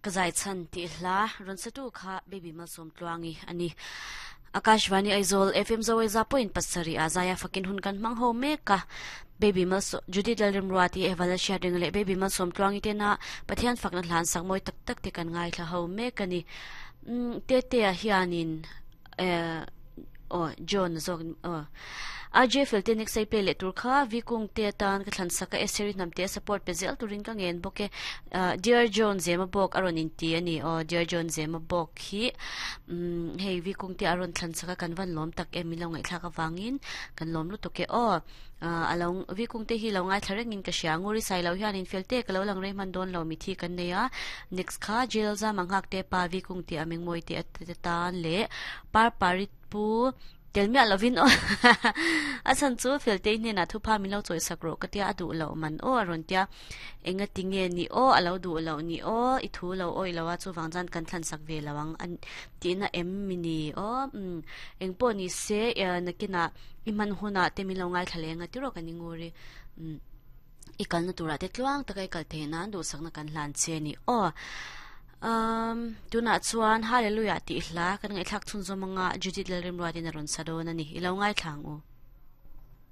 Ka zai chhan tih hla rawn satu kha Baby Malsawmtluangi a ni. Akashvani Aizawl FM Zawaiza pawhin pasarih ah zaia fakin hun kan hmang ho mek a. Baby Malsawm Judith Lalrimruati Evala Hriatrenga leh Baby Malsawmtluangi tena Pathian fakna hla an sak mawi tak tak te kan ngaithla ho mek a ni. Tetea hianin eh aw John zawk aw RJ Felte next ai play leh tur kha V Kung te atan ka thlan sak a Eseri hnam te support pe zel turin ka ngen bawk e Dear John Zema bawk a rawn inti a ni aw Dear John Zema bawk hi umm hei V Kung te a rawn thlan sak a kan van lawm tak em min lo ngaihthlak avangin kan lawm lutuk e aw a lo V Kung te hi lo ngaithla rengin ka hria Nguri sai lo hianin Felte ka lo lang rei hman dawn lo mithi kan nei a next kha Jail Zama nghak te pa V Kung te a mengmawi te atan leh Parpari pu tel miah lovin aw a chhan chu Feltei hnenah thupha min lo chawisak rawh ka tia a duh loh man aw a rawn tia enga ti nge ni aw a lo duh loh ni aw i thu lo awih lo a chuvang chuan kan thlansak ve lo ang a tihna em mi ni aw umm eng pawh ni se nakinah i hman hunah te min lo ngaithla leh anga tiraw kan ingur i umm. I kalna turah te tluang taka i kal theih nan duhsakna kan hlan che a ni aw. Um, tunah chuan Hallelujah tih hla kan ngaihthlak chhunzawm anga Judith Lalrimruatin a rawn sa dawn a ni. I lo ngaithla ang u.